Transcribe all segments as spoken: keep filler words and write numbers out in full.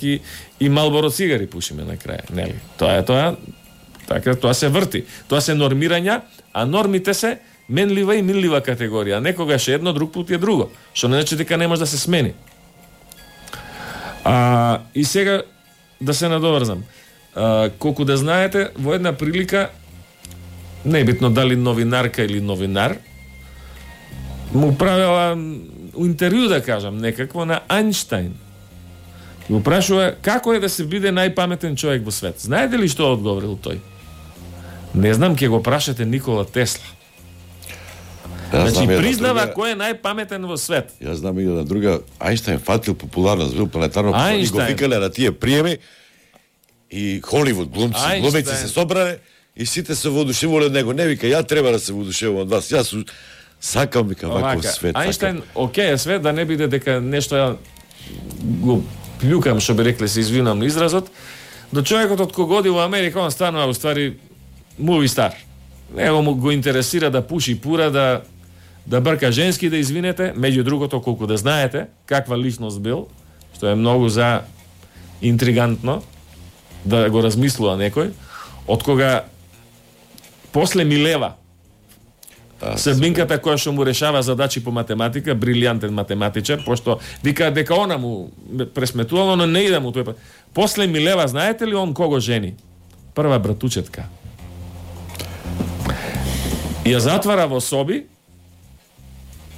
и, и Малборо цигари пушиме на крај, нели? Тоа е тоа, така тоа се врти. Тоа се нормирања, а нормите се менлива и минлива категорија. Некогаш е едно, друг пат е друго. Што не значи дека не може да се смени. А, и сега да се надоврзам. А, колку да знаете, во една прилика, небитно дали новинарка или новинар, му правила интервју, да кажам, некакво на Ајнштајн. Го прашува како е да се биде најпаметен човек во свет. Знаете ли што одговорил тој? Не знам, ќе го прашате Никола Тесла. Ја Значи, признава друга... кој е најпаметен во свет. Ја знам и една друга, Ајнштајн фатил популарност, бил планетарно, и го Ајнштајн. викале на тие приеми и Холивуд глумци, Ајнштајн. глумеци се собрале и сите се воодушевувале од него. Не вика, ја треба да се воодушевувам од вас. Јас сакам, вика, ваков свет. Ајнштајн, окей, свет да не биде дека нешто ја го плюкам, што би рекле, се извинам на изразот, до човекот од кога оди во Америка, он станува уствари муви стар. Него му го интересира да пуши пура, да да брка женски, да извинете, меѓу другото, колку да знаете каква личност бил, што е многу за интригантно да го размислува некој, од кога после Милева, Србинката која што му решава задачи по математика, брилијантен математичар, пошто вика дека она му пресметувало, но не иде му тој. После Милева, знаете ли он кого жени? Прва братучетка. Ја затвара во соби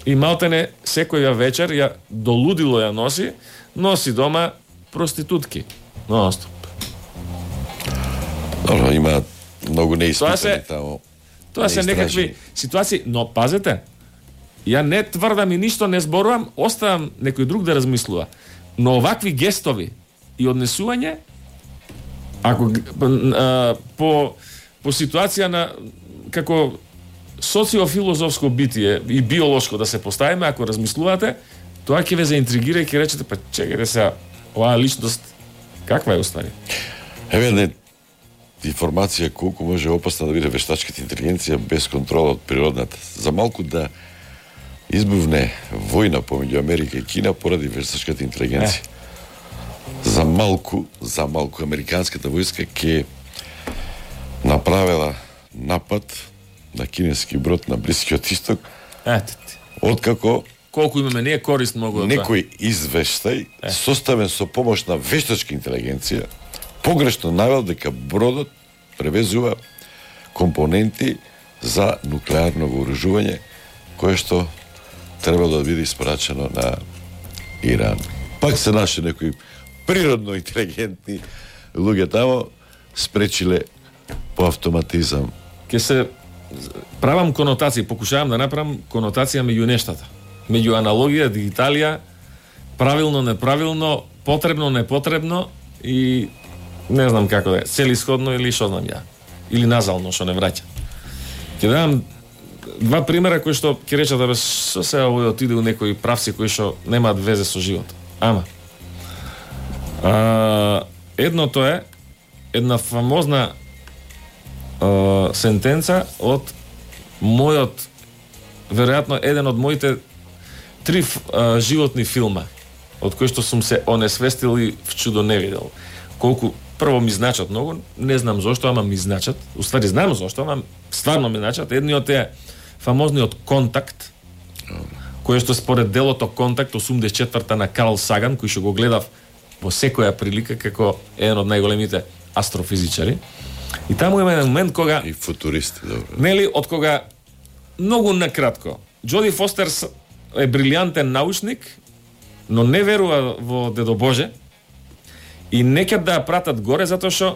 и малтене секоја вечер ја долудило ја носи, носи дома проститутки. Ностоп. Добро, има многу неиспитани тамо. Тоа се некакви ситуации, но пазете, ја не тврдам и ништо не зборувам, оставам некој друг да размислува. Но овакви гестови и однесување, ако а, по по ситуација на како социофилозофско битие и биолошко да се поставиме, ако размислувате, тоа ќе ве заинтригира и ќе речете, па чекајте сега, оваа личност каква е уствари? Еве не информација колку може опасна да биде вештачката интелигенција без контрола од природната. За малку да избувне војна помеѓу Америка и Кина поради вештачката интелигенција. Е. За малку, за малку американската војска ќе направила напад на кинески брод на Блискиот исток. Ете ти. Откако колку имаме ние корист многу од тоа. Некој извештај е. составен со помош на вештачка интелигенција погрешно навел дека бродот превезува компоненти за нуклеарно вооружување кое што треба да биде испрачено на Иран. Пак се наши некои природно интелигентни луѓе тамо спречиле по автоматизам. Ке се правам конотации, покушавам да направам конотација меѓу нештата. Меѓу аналогија, дигиталија, правилно, неправилно, потребно, непотребно и не знам како да е, целисходно или што знам ја. Или назално, што не враќа. Ќе дадам два примера кои што ќе речат да бе со се овој отиде у некои правци кои што немаат везе со животот. Ама а, едното е една фамозна а, сентенца од мојот, веројатно еден од моите три а, животни филма од кои што сум се онесвестил и в чудо не видел. Колку прво ми значат многу, не знам зошто, ама ми значат. Уствари знам зошто, ама стварно ми значат. Едниот е фамозниот Контакт, кој што според делото Контакт осумдесет и четврта на Карл Саган, кој што го гледав во секоја прилика како еден од најголемите астрофизичари. И таму има еден момент кога и футуристи, добро. Нели, од кога многу накратко Џоди Фостер е брилијантен научник, но не верува во Дедо Боже и не ќе да ја пратат горе затоа што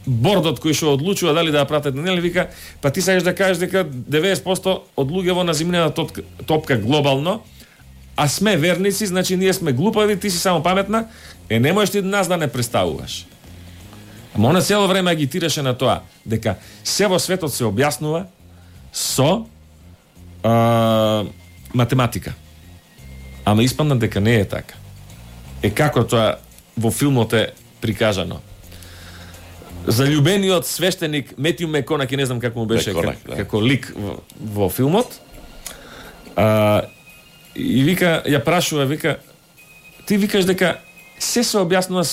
бордот кој што одлучува дали да ја пратат, нели, вика, па ти сакаш да кажеш дека деветдесет проценти од луѓето на земјината топка, топка глобално, а сме верници, значи ние сме глупави, ти си само паметна, е не можеш ти нас да не представуваш. Ама она цело време агитираше на тоа, дека се во светот се објаснува со а, математика. Ама испадна дека не е така. Е како тоа во филмот е прикажано. Заљубениот свештеник Метју Меконаки, не знам како му беше Меконак, как, да. како лик во, во филмот. А, и вика, ја прашува, вика, ти викаш дека се се објаснува со